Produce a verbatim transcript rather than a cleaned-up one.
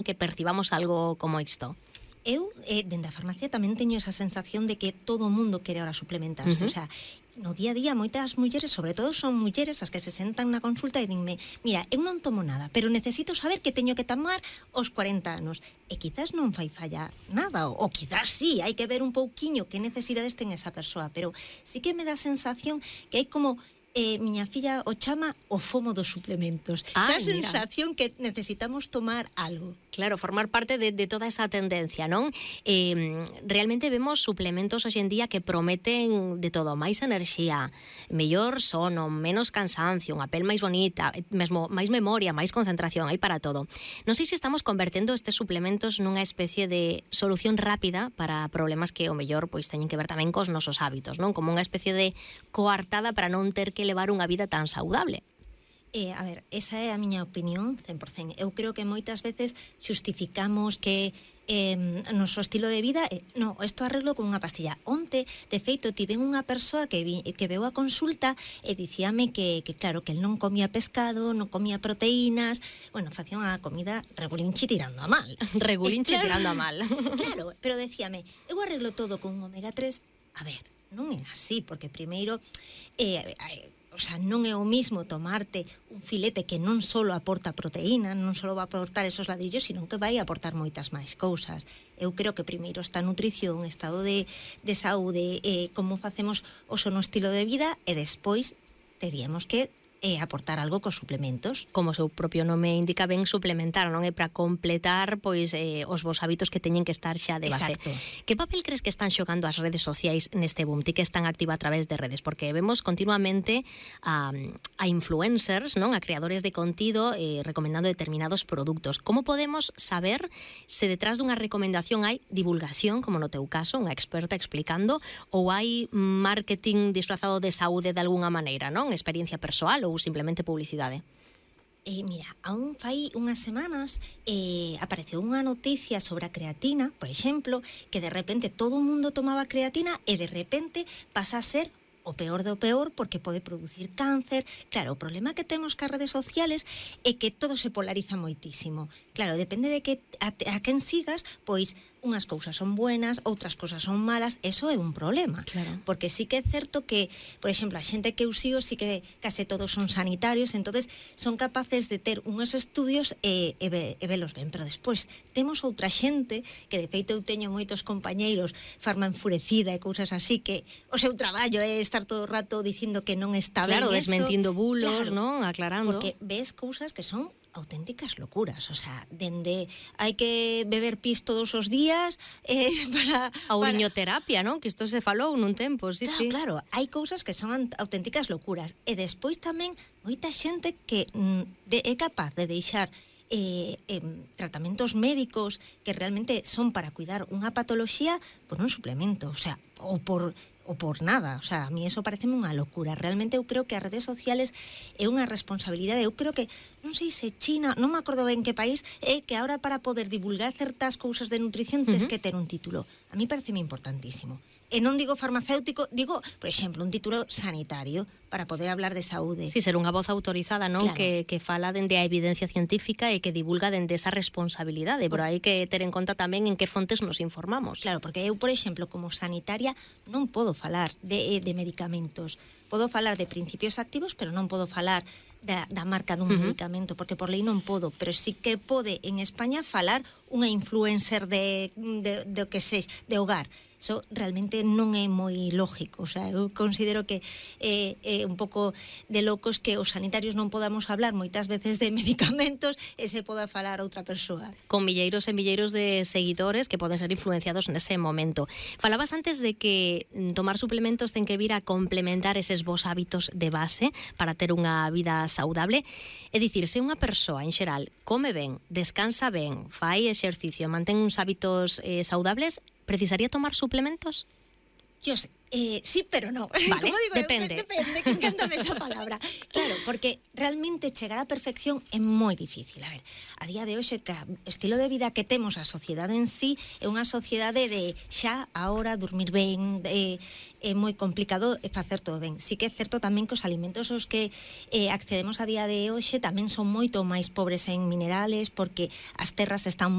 que percibamos algo como isto? Eu, eh, dende a farmacia, tamén teño esa sensación de que todo o mundo quere ahora suplementarse. Uh-huh. O sea, no día a día, moitas mulleres, sobre todo son mulleres as que se sentan na consulta e dinme, mira, eu non tomo nada, pero necesito saber que teño que tomar aos cuarenta anos. E quizás non fai falla nada, ou, ou quizás sí, hai que ver un pouquiño que necesidades ten esa persoa, pero sí que me dá a sensación que hai como... Eh, miña filla o chama o fomo dos suplementos. Ah, esa sensación que necesitamos tomar algo. Claro, formar parte de, de toda esa tendencia, non? Eh, realmente vemos suplementos hoxe en día que prometen de todo, máis enerxía, mellor sono, menos cansancio, unha pel máis bonita, mesmo máis memoria, máis concentración, hai para todo. Non sei se estamos convertendo estes suplementos nunha especie de solución rápida para problemas que o mellor pois teñen que ver tamén cos nosos hábitos, non? Como unha especie de coartada para non ter que levar unha vida tan saudable. Eh, a ver, esa é a miña opinión cen por cento. Eu creo que moitas veces xustificamos que eh, noso estilo de vida eh, no, isto arreglo con unha pastilla. Onte, de feito, tiven unha persoa que, vi, que veu a consulta e dicíame que, que claro, que el non comía pescado, non comía proteínas, bueno, facía unha comida regulinchi tirando a mal. Regulinchi eh, claro, tirando a mal. Claro, pero decíame, eu arreglo todo con un omega tres. A ver, non é así, porque primeiro eh, eh, o sea, non é o mismo tomarte un filete que non só aporta proteína, non só vai aportar esos ladrillos, sino que vai aportar moitas máis cousas. Eu creo que primeiro está a nutrición, estado de, de saúde, eh, como facemos o sono estilo de vida, e despois teríamos que e aportar algo cos suplementos. Como o seu propio nome indica, ben suplementar, non é para completar pois eh, os vos hábitos que teñen que estar xa de base. Exacto. Que papel crees que están xogando as redes sociais neste boom? Ti que están activa a través de redes, porque vemos continuamente a, a influencers, non, a creadores de contido eh, recomendando determinados produtos. Como podemos saber se detrás dunha recomendación hai divulgación, como no teu caso, unha experta explicando, ou hai marketing disfrazado de saúde de algunha maneira, non? Experiencia persoal ou simplemente publicidade? Eh, mira, aún fai unhas semanas eh, apareceu unha noticia sobre a creatina, por exemplo, que de repente todo o mundo tomaba creatina e de repente pasa a ser o peor do peor porque pode producir cáncer. Claro, o problema que temos cas redes sociales é que todo se polariza moitísimo. Claro, depende de que a, a quen sigas, pois unhas cousas son buenas, outras cousas son malas, eso é un problema. Claro. Porque sí que é certo que, por exemplo, a xente que eu sigo sí que case todos son sanitarios, entonces son capaces de ter unhos estudios e, e, ve, e velos ben, pero despois temos outra xente que de feito eu teño moitos compañeiros farma enfurecida e cousas así que o seu traballo é estar todo o rato dicindo que non está claro, ben eso. Claro, desmentindo bulos, claro, non? Aclarando. Porque ves cousas que son auténticas locuras, o sea, dende hai que beber pis todos os días eh, para... A uriñoterapia, non? Que isto se falou nun tempo, sí, claro, sí. Claro, hai cousas que son auténticas locuras e despois tamén moita xente que mm, de, é capaz de deixar eh, eh, tratamentos médicos que realmente son para cuidar unha patoloxía por un suplemento, o sea, ou por... ou por nada, o sea, a mí eso pareceme unha locura. Realmente eu creo que as redes sociales é unha responsabilidade. Eu creo que, non sei se China, non me acordo ben que país, é que ahora para poder divulgar certas cousas de nutrición uh-huh. tes que ter un título. A mí pareceme importantísimo. E non digo farmacéutico, digo, por exemplo, un título sanitario para poder hablar de saúde. Sí, ser unha voz autorizada, non? Claro. Que, que fala dende a evidencia científica e que divulga dende esa responsabilidade, pero hai que ter en conta tamén en que fontes nos informamos. Claro, porque eu, por exemplo, como sanitaria non podo falar de, de medicamentos. Podo falar de principios activos, pero non podo falar da, da marca dun uh-huh. medicamento, porque por lei non podo, pero sí que pode en España falar unha influencer de, de, de, de que se, de hogar. Eso realmente non é moi lógico, o sea, eu considero que é, é un pouco de locos que os sanitarios non podamos hablar moitas veces de medicamentos e se poda falar outra persoa. Con milleiros e milleiros de seguidores que poden ser influenciados nese momento. Falabas antes de que tomar suplementos ten que vir a complementar eses vos hábitos de base para ter unha vida saudable. É dicir, se unha persoa en xeral come ben, descansa ben, fai exercicio, mantén uns hábitos eh, saudables, precisaría tomar suplementos? Dios, eh, sí, pero no. Vale, Como digo, depende. Eu, depende, que encantame esa palabra. Claro, porque realmente chegar á perfección é moi difícil. A ver, a día de hoxe, que o estilo de vida que temos a sociedade en sí é unha sociedade de xa, ahora, dormir ben, de, é moi complicado facer todo ben. Sí que é certo tamén que os alimentos aos que eh, accedemos a día de hoxe tamén son moito máis pobres en minerales, porque as terras están